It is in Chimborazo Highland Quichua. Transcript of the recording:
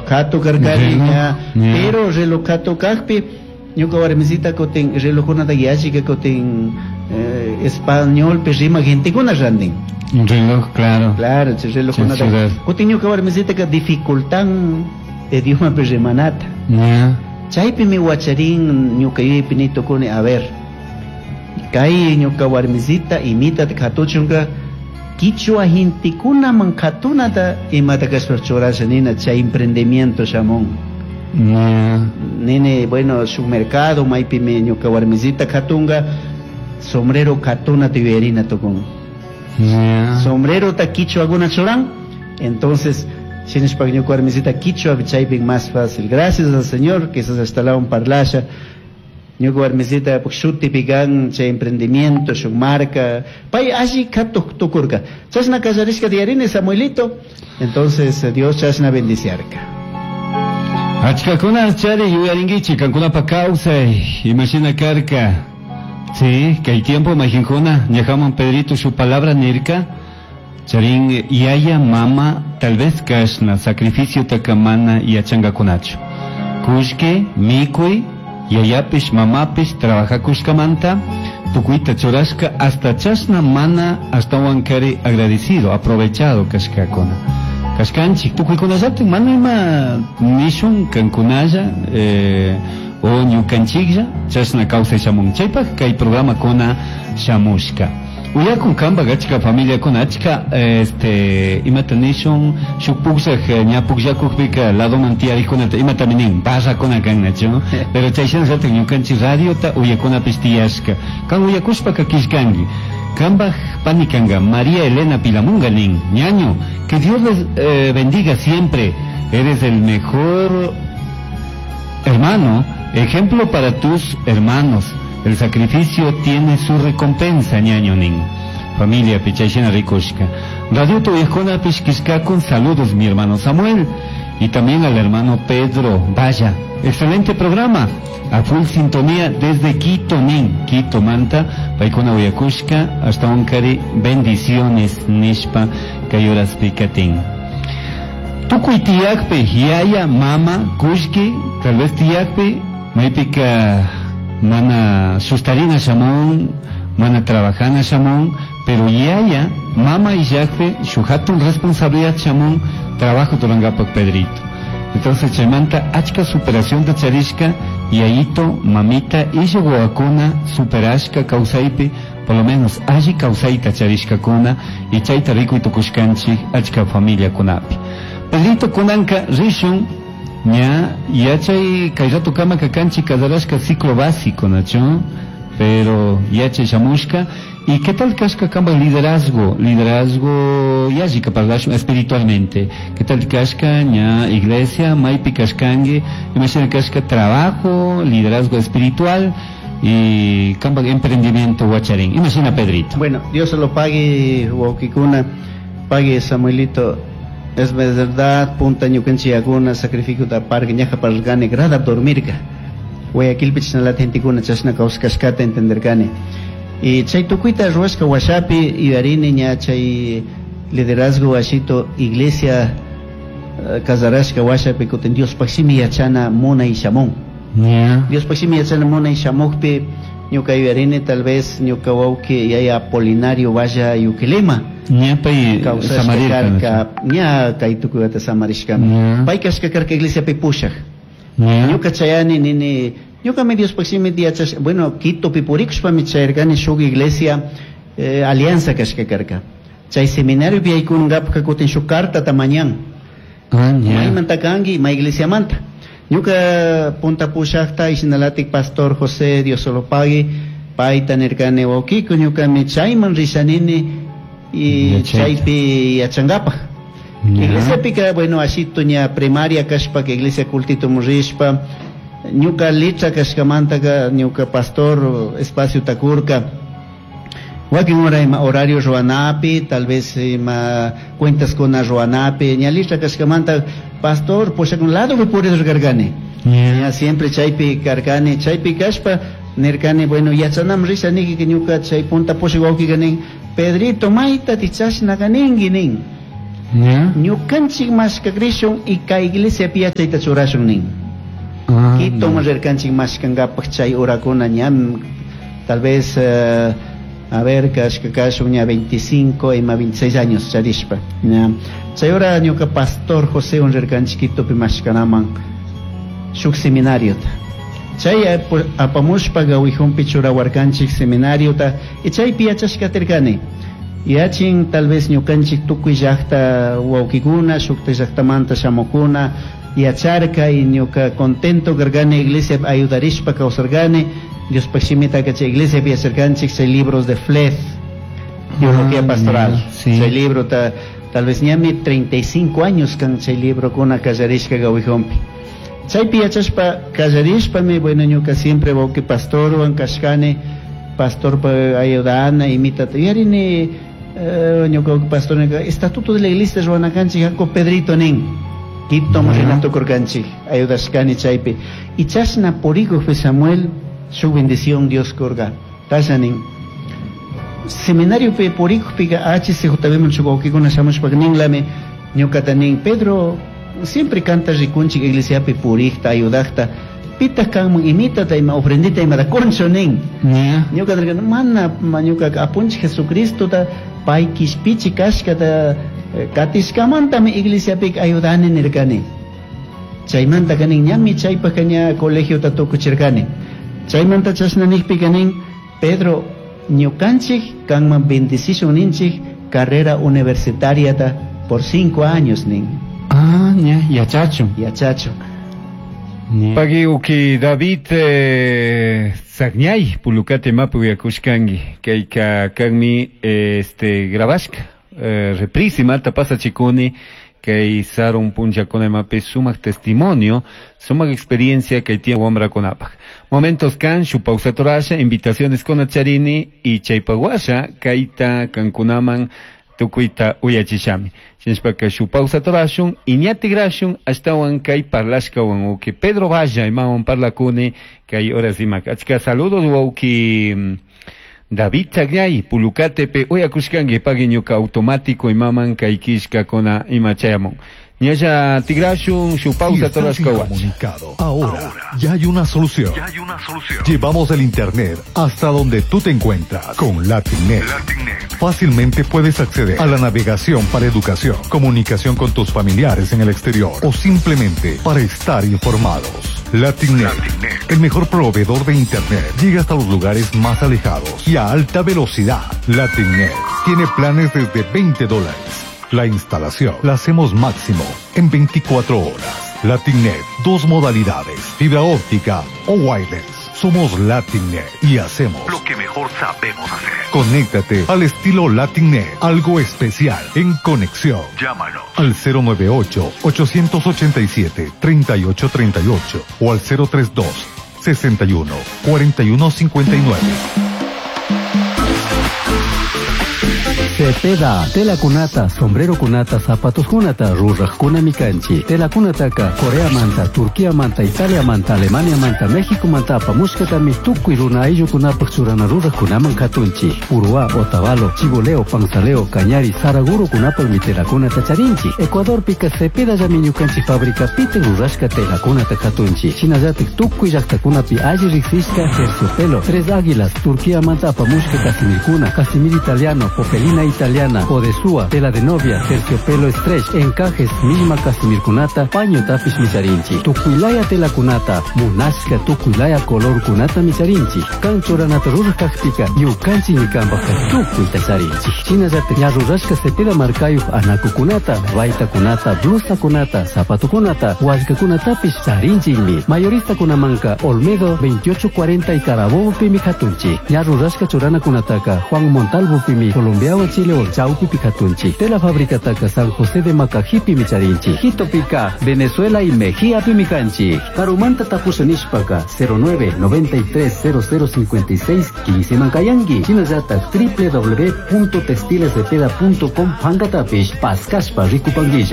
Reloj katu karkani ña, pero reloj katu kajpi ñuka warmisita kutin relojkunata yallika kutin españolpi rimaq gentekuna rantin. Reloj, claro. Claro, chay relojkunata. Kutin ñuka warmisitaka dificultan idiomapi rimanata. Chaypimi wacharin ñuka yuyaypi ni tukuni, a ver, kay ñuka warmisita imitata katuchunka quichua gentekunaman katunata imata kashpa churasha nina chay emprendimiento shamun. Nini, bueno, shuk mercado maypimi ñuka warmisita katunga sombrero katunata yuyarina tukun. Sombrerota quichuakuna churan, entonces shinashpa ñuka warmisita quichua chaypi más fácil. Gracias al Señor que esas hasta la un parlasha. Ñuka warmisita shutipi kan chay emprendimiento, shuk marca, pay alli katuq tukurka. Chashna kallarishka diarini Samuelito, entonces Dios chashna bendiciarka. Achkakuna chari yuyarinkichik kankunapa kawsay imashina karka. Sí, kay tiempo majinkuna ñajaman Pedrito su palabra nirka charin yaya mama tal vez kashna sacrificio takamana yachangakunachu. Kushki, mikuy, yayapish mamapish trabajakushkamanta tukuyta churashka hasta chashna mana ashtawan kari agradecido, aprovechado kashkakuna. Kashkanchik tukuykunallatik mana ima nishun kankunalla o ñukanchiklla chashna kawsay shamun. Chaypaq kay programakuna shamushka. Uyakun kanpak achka familiakuna achka imata nishun shuk pukllak ña pukllakukpika ladoman tiyarikunata imatami nin barrakuna kan nachu, pero chay shinallatak ñukanchik radiota uyakunapish tiyashka. Kan uyakushpaka killkanki. Kanpak pani kanka María Elena Pilamunga nin, ñaño, que Dios les bendiga siempre. Eres el mejor hermano, ejemplo para tus hermanos. El sacrificio tiene su recompensa, ñaño nin. Familia Pichayshina Rikushka. Radio Tuyajuna Pishkishka con saludos, mi hermano Samuel. Y también al hermano Pedro. Vaya, excelente programa. A full sintonía desde Quito, nin. Quito, Manta, Paikuna Uyakushka, hasta Onkari, bendiciones, nishpa, kayuras pikatin. Tukuy tiyakpi, yaya, mama, kushki, tal vez tiyakpi, maypika mana sustarina shamun, mana trabajana shamun, pero yaya, mama y yakpe, shuhatun responsabilidad shamun, trabajo turangapak Pedrito. Entonces chaymanta achka superación de charishka, yayito, mamita, isha wawakuna superashka kawsaypi, por lo menos alli kawsayta charishkakuna, y chayta rikuy tukushkanchik achka familiakunapi. Pedrito kunanka rishun, ña yachay kay rato kama kakanchik kasarashka ciclo básico, nacho, pero yachay shamushka. ¿Y qué tal kashka kamba liderazgo? Liderazgo yallika parlashun espiritualmente. ¿Qué tal kashka ña iglesia, maypi kashkangi, imagina kashka trabajo, liderazgo espiritual y kamba emprendimiento wacharin? Imagina Pedrito. Bueno, Dios se lo pague, wawkikuna, pague Samuelito. Es verdad, punta ñukanchiyakuna, sacrificio da parque, ñaja pargane, grada dormirka. Guayaquilpi chashnalata gentekuna chashna kawsashkata entenderkani. Y chay tukuyta ruwashka washapi yuyarini ña chay liderazgo washito iglesia kasarashka washapi kutin Diospaj shimi yachana munay shamun. Diospaj shimi yachana munay shamukpi ñuka yuyarini tal vez ñuka wawki yaya Apolinario Valla Yuquilema. Ña pay Kawsashka samarirka, karka, ¿no? ña kay tukuyta samarishkami. Pay kashka karka iglesiapi pushak. Ñuka chayani nini, ñuka mi Diospaj shimi yachash, bueno, Quitopi purikushpami chayarkani shuk iglesia alianza kashka karka. Chay seminario yaykungapak kutin shuk cartata mañan. Maymanta kanki, may iglesiamanta. Ñuka punta pushakta ishinalatik pastor José Diosolopagui, payta nirkani wawkiku, ñukami chayman rishanini y Yachayta. chaypi yachangapak. Iglesiapika, bueno, ashito ña primaria kashpa, que iglesia cultito murishpa, ñuka letra kashkamantaka, ñuka pastor espacio takurka. Wakin hora ima horario ruanapi, tal vez ima cuentas con ruanapi, ña litra kashkamanta, pastor, posha con lado que puedes gargani. Ña siempre chaypi karkani, chaypi kashpa, nirkani, bueno, yachanam risa niki que ñuka chay punta posha wawki ganin, Pedrito, mayta tichashna ganingi nin. Ñukanchik mashkakrishun y kay iglesia yachayta churashun nin. Quito rirkanchik mashkankapaq chay horakuna ñam tal vez a ver kashka kashun ña 25 ima 26 años charishpa. Ña chay hora ñuka pastor José rirkanchik Quitopi mashkanaman shuk seminariota. Chay apamushpa gawihunpi churawarkanchik seminariota y chaypi yachashkatirkani. Yachin tal vez ñukanchik tukuy llaqta wawkikuna shukta llaqtamanta shamukuna yacharka y ñuka contento karkani iglesia ayudarishpa kawsarkani Diospaq shimita chay iglesia yacharkanchik chay libros de Fleth teología pastoral. Sí. Chay libro tal vez ñami 35 años kan chay libro kuna kallarishka gawihunpi. Chaypi yachashpa kallarishpami bueno ñuka siempre wawki pastorwan kashkani pastor ayudana imitata yarini ñuka pastor estatuto de la iglesia ruwanakanchik haku Pedrito nin Quito Renato kurkanchik ayudashkani chaypi y chashna purikuqpi Samuel su bendición Dios kurka tasha nin seminariopi purikuqpika HCJB shuk wawkikuna shamushpaka ninlami ñukata nin Pedro siempre canta rikunchik iglesiapi purikta ayudaqta pitaq kanman imitata ima ofrendita imata concho nin. Ñuka nirkani mana ñuka apunchik Jesucristota pay kishpichi kashkata katishkamantami iglesiapika ayudani nirkani. Chaymanta kanin ñami chaypaq ña colegiota tukuchirkani. Chaymanta chashna nijpika nin Pedro ñukanchik kanman bendicishun ninchik carrera universitariata por 5 años nin. Ah, ña, yachachu. Yachachu. Pagi uki David Sagñay pulukate mapu yakushkangi kayka kanmi este grabashka reprise mata pasa chikuni kay sarun punchakuna imapi sumak testimonio sumak experiencia kay tiene wamrakunapaq momentos kan shu pausatorasha invitaciones con charini y chaypaguasha kayta kankunaman tukuyta uyachishami shinashpaka shu pausatorashun y ñatigrashun ashtawan kay parlashkawan uki Pedro Valla imawan parlakuni kay horas imak achka saludos wawki David Chagnay Pulucatepe uyakushkanki pagui ñuka automático imaman kay kishkakuna ima chayamun ñalla tigrashun shu pausa torashkawan. Comunicado. Ahora ya hay una solución. Llevamos el internet hasta donde tú te encuentras con Latinet. Fácilmente puedes acceder a la navegación para educación, comunicación con tus familiares en el exterior o simplemente para estar informados. Latinet, el mejor proveedor de internet, llega hasta los lugares más alejados y a alta velocidad. Latinet tiene planes desde $20. La instalación la hacemos máximo en 24 horas. Latinet, 2 modalidades, fibra óptica o wireless. Somos Latinet y hacemos lo que mejor sabemos hacer. Conéctate al estilo Latinet, algo especial en conexión. Llámanos al 098-887-3838 o al 032 61 41 59. Cepeda, tela kunata, sombrero kunata, zapatos kunata, ruraj kunami kanchi. Tela kunataka, Corea manta, Turquía manta, Italia manta, Alemania manta, México manta, apamushkatami, tukuy runa ayllu kunapaq churana ruraj kunaman katunchi. Uruá, Otavalo, Chiboleo, Panzaleo, Cañari, Saraguro kunapaqmi tela kunata charinchi. Ecuador pika Cepeda llami ñukanchi fábrica pite rurashka tela kunata katunchi. Shinallatik tukuy llaqtakunapi alli riqsishka terciopelo, Tres Águilas, Turquía manta apamushka casimirkuna, casimir italiano, popelina italiana, odesúa, tela de novia, terciopelo stretch, encajes, misma casimirkunata, paño tapis micharinchi, tukuilaya tela kunata, munashka tukuilaya color kunata micharinchi, kanchoranata rurajkajpika, ñukanchi ñikanpajka tukuyta charinchi. Shinallata ñarrurashka cepeda markayuj anakukunata, baytakunata, blusakunata, zapatukunata, wallkakunatapis charinchikmi. Mayorista kunamanka Olmedo 2840 y Carabobo pimi katunchi, ñarrurashka churanakunataka Juan Montalvo pimi Colombia Chile Chaupi Picatunchi, Tela Fábrica Taca San José de Macajipi Micharinchi, Quito Pica, Venezuela y Mejía Pimicanchi, Carumanta Tapusanishpaka, 09 93 00 56 15 Mancayangui, Chinayata www.textilescepeda.com Pangatapish, Pascaspa Ricupanguilla.